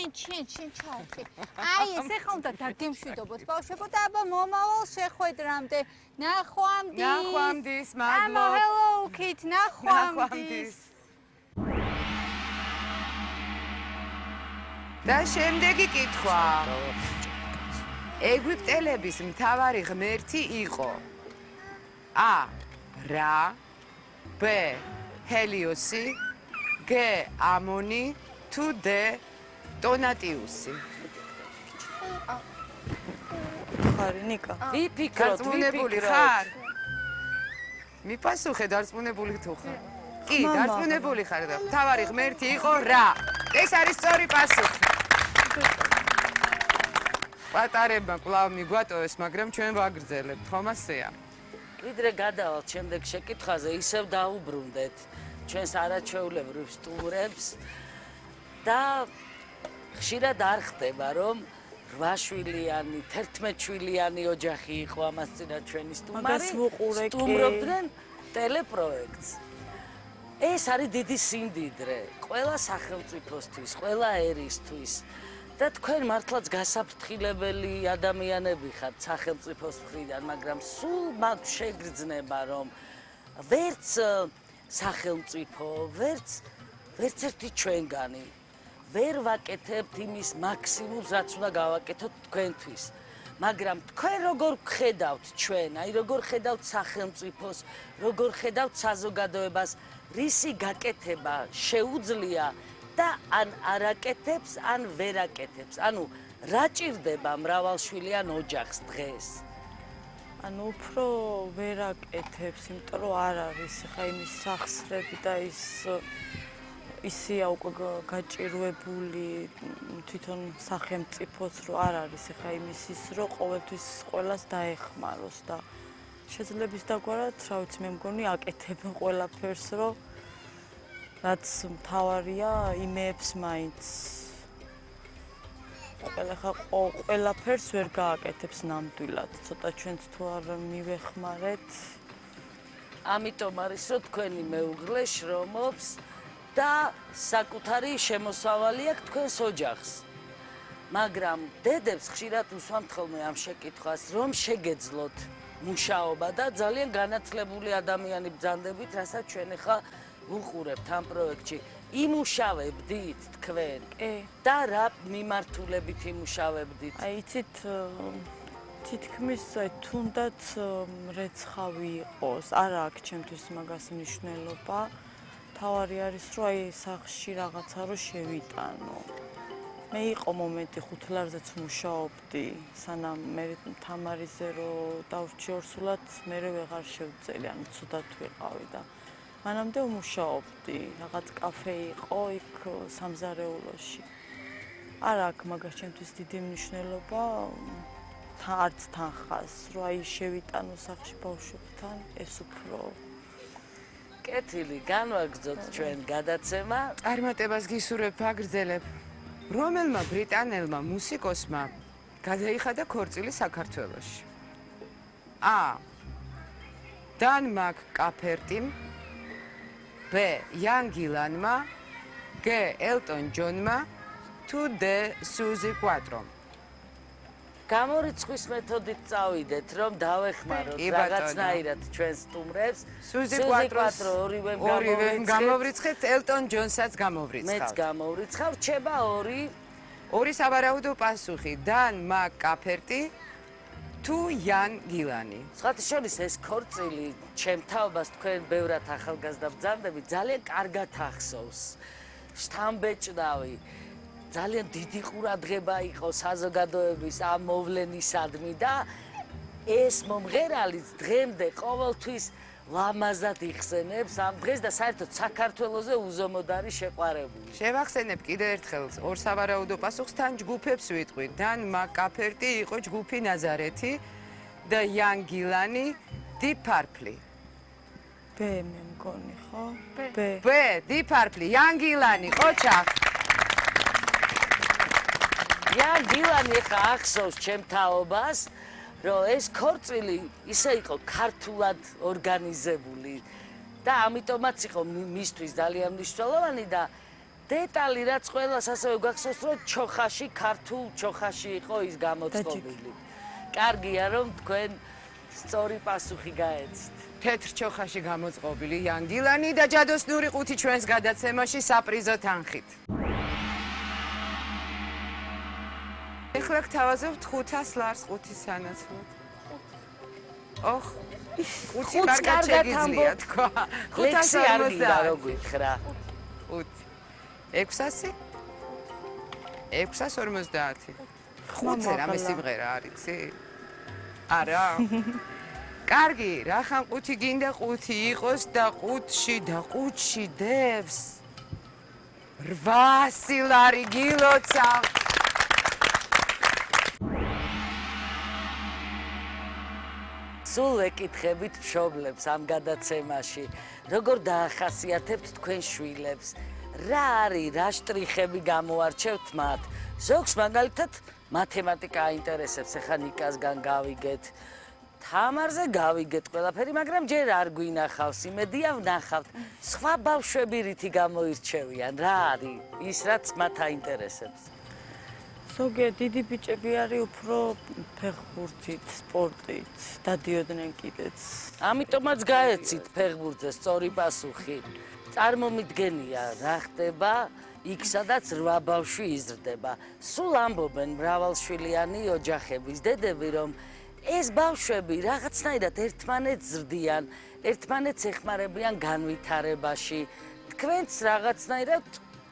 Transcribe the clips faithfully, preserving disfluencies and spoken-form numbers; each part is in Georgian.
შენ შენ შენ ჩავხი. აი ეს ახლა უნდა დაგემშვიდობოთ ბავშვებო და აბა მომავალ შეხვედრამდე. ნახვამდის. ნახვამდის, მადლობ. ამა hello kid, ნახვამდის. და შემდეგი კითხვა. ეგვიპტელების მთავარი ღმერთი იყო A. რა, B. ჰელიოსი, G. ამონი, თუ D. ტონატიუსი. ხარი ნიკა. ვიფიქროთ, დარწმუნებული ხარ? მიპასუხე დარწმუნებული თუ ხარ? კი, დარწმუნებული ხარ და მთავარი ღმერთი იყო რა. ეს არის სწორი პასუხი. პატარებმა კვლავ მიგვატოვეს, მაგრამ ჩვენ ვაგრძელებთ, ხომ ასეა? ვიდრე გადავალთ შემდეგ შეკითხვაზე, ისევ დაუბრუნდეთ ჩვენს არაჩვეულებრივ სტუმრებს და ხშირად არ ხდება, რომ რვა შვილიანი, თერთმეტ შვილიანი ოჯახი იყო ამას წინა ჩვენი სტუმარი, სტუმრობდნენ ტელეპროექტს. ეს არის დიდი სიმდიდრე, ყველა სახელმწიფოსთვის, ყველა ერისთვის. და თქვენ მართლაც გასაფრთხილებელი ადამიანები ხართ სახელმწიფოს მხრიდან, მაგრამ სულ მათ შეგრძნება, რომ ვერც სახელმწიფო, ვერც ვერც ერთი ჩვენგანი ვერ ვაკეთებთ იმის მაქსიმუმს, რაც უნდა გავაკეთოთ თქვენთვის. მაგრამ თქვენ როგორ გხედავთ ჩვენ, აი როგორ ხედავთ სახელმწიფოს, როგორ ხედავთ საზოგადოებას, რისი გაკეთება შეუძლია და ან არაკეთებს, ან ვერ აკეთებს. ანუ რა ჭირდება მრავალშვილიან ოჯახს დღეს? ანუ უფრო ვერ აკეთებს, იმიტომ რომ არ არის ხა იმის სახსრები და ის ისია უკვე გაჭირვებული თვითონ სახელმწიფოც რომ არ არის ხა იმის ის რომ ყოველთვის ყველას დაეხმაროს და შეძლებს დაგვარად, რა ვიცი, მე მგონი აკეთებენ ყველაფერს, რომ რაც მთავარია იმეებს მაინც ყველა ხა ყველაფერს ვერ გააკეთებს ნამდვილად, ცოტა ჩვენც თუ არ მივეხმარეთ. ამიტომ არის რომ თქვენი მეუღლე შრომობს და საკუთარი შემოსავალი აქვს თქვენს ოჯახს. მაგრამ დედებს ხშირად უსვამთ ხოლმე ამ შეკითხვას, რომ შეგეძლოთ მუშაობა და ძალიან განათლებული ადამიანი ბრძანდებით, რასაც ჩვენ ახლა ვუყურებთ ამ პროექტში. იმუშავებდით თქვენ? კი. და რა მიმართულებით იმუშავებდით? აი, იცით, თითქმის თუნდაც რეცხავი იყოს, არა აქვს ჩემთვის მაგას მნიშვნელობა. თავარი არის, რომ აი სახლში რაღაცა რო შევიტანო. მე იყო მომენტი ხუთლარზეც მუშაობდი, სანამ მე თამარიზე რო დავრჩი ორსულად, მე ვეღარ შევწელი, ანუ ცუდად ვიყავი და მანამდე ვმუშაობდი, რაღაც კაფე იყო იქ სამზარეულოში. არ აქვს მაგას ჩემთვის დიდი მნიშვნელობა, არც თანხას, რომ აი შევიტანო სახლში ბავშვებთან, ეს უფრო კეთილი, განვაგრძოთ ჩვენ გადაცემა. წარმატებას გისურვებ, აგრძელებ. რომელმა ბრიტანელმა მუსიკოსმა გადაიხადა ქორწილი საქართველოში? A. დან მაკ-კაფერტიმ, B. იან გილანმა, G. ელტონ ჯონმა, თუ D. სუზი კვატრომ. გამორიცხვის მეთოდით წავიდეთ, რომ დავეხმაროთ რაღაცნაირად ჩვენს სტუმრებს. სუზი კვატროს ორივემ ორივემ გამოვრიცხეთ, ელტონ ჯონსაც გამოვრიცხავთ. მეც გამოვრიცხავ, რჩება ორი. ორი სავარაუდო პასუხი, დან მაკ-კაფერტი თუ იან გილანი. სხვათა შორის ეს ქორწილი ჩემ თაობას თქვენ ბევრად ახალგაზრდა ბრძანდები ძალიან კარგად ახსოვს. შთამბეჭდავი. ძალიან დიდი ყურადღება იყო საზოგადოების ამ მოვლენისადმი და ეს მომღერალიც დღემდე ყოველთვის ლამაზად იხსენებს ამ დღეს და საერთოდ საქართველოზე უზომოდ არის შეყვარებული. შევახსენებ კიდევ ერთხელ ორ სავარაუდო პასუხს, თან ჯგუფებს ვიტყვი. დან მაკ-კაფერტი იყო ჯგუფი ნაზარეთი და იან გილანი Deep Purple. B მე მგონი, ხო? B. B, Deep Purple, იან გილანი, ყოჩახ. იან გილანი ხა ახსოვს ჩემ თაობას, რომ ეს ქორწილი ისე იყო ქართულად ორგანიზებული და ამიტომაც იყო მისთვის ძალიან მნიშვნელოვანი და დეტალი რაც ყველას ასევე გახსოვს რომ ჩოხაში ქართულ ჩოხაში იყო ის გამოწყობილი. კარგია რომ თქვენ სწორი პასუხი გაეცით. თეთრ ჩოხაში გამოწყობილი იანგილანი და ჯადოსნური ყუთი ჩვენს გადაცემაში საპრიზო თანხით. ეხლა გთავაზობთ ხუთას ლარს ყუთის სანაცვლოდ. ოხ, ყუთი კარგად შეგიძლია თქვა. ხუთასი არ გინდა რო გითხრა. ხუთი. ექვსასი? ექვსას ორმოცდაათი. ხუთზე რამე სიმღერა არიცი? არა. კარგი, რახან ყუთი გინდა ყუთი იყოს და ყუთში და ყუთში დევს. რვასი ლარი გილოცა. სულ ეკითხებით მშობლებს ამ გადაცემაში, როგორ დაახასიათებთ თქვენ შვილებს, რა არის, რა შტრიხები გამოარჩევთ მათ. ზოგს მაგალითად მათემატიკა აინტერესებს, ეხლა ნიკასგან გავიგეთ, თამარზე გავიგეთ ყველაფერი, მაგრამ ჯერ არ გვინახავს, იმედია ვნახავთ. სხვა ბავშვები რითი გამოირჩევიან, რა არის ის, რაც მათ აინტერესებს. ზოგიერთ დიდი ბიჭები არის უფრო ფეხბურთით, სპორტით, დადიოდნენ კიდეც. ამიტომაც გაეცით ფეხბურთზე სწორი პასუხი. წარმომიდგენია რა ხდება იქ სადაც რვა ბავშვი იზრდება. სულ ამბობენ მრავალშვილიანი ოჯახების დედები, რომ ეს ბავშვები რაღაცნაირად ერთმანეთს ზრდიან, ერთმანეთს ეხმარებიან განვითარებაში. თქვენც რაღაცნაირად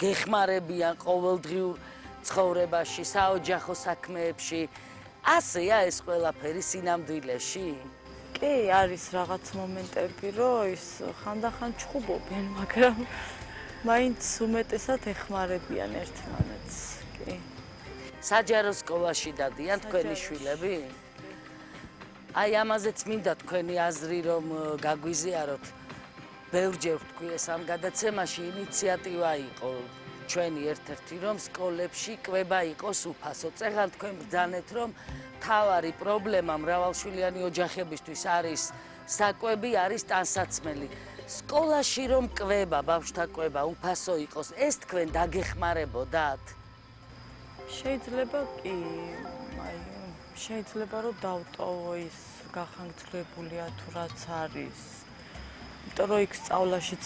გეხმარებიან ყოველდღიურ ცხოვრებაში, საოჯახო საქმეებში. ასეა ეს ყველაფერი სინამდვილეში? კი, არის რაღაც მომენტები, რომ ის ხანდახან ჩხუბობენ, მაგრამ მაინც უმეტესად ეხმარებიან ერთმანეთს. კი. საჯარო სკოლაში დადიან თქვენი შვილები? აი ამაზეც მინდა თქვენი აზრი რომ გაგვიზიაროთ. ბევრჯერ ვთქვი ეს ამ გადაცემაში ინიციატივა იყო ჩვენი ერთ-ერთი რომ სკოლებში კვება იყოს უფასო. წეგან თქვენ ბრძანეთ რომ თავარი პრობლემა მრავალშვილიანი ოჯახებისთვის არის საკვები, არის ტანსაცმელი. სკოლაში რომ კვება, ბავშვთა კვება უფასო იყოს, ეს თქვენ დაგეხმარებოდათ? შეიძლება კი, აი შეიძლება რომ დავტოვო ის გახანგრძლივებულია თუ რაც არის. იმიტომ რომ იქ სწავლაშიც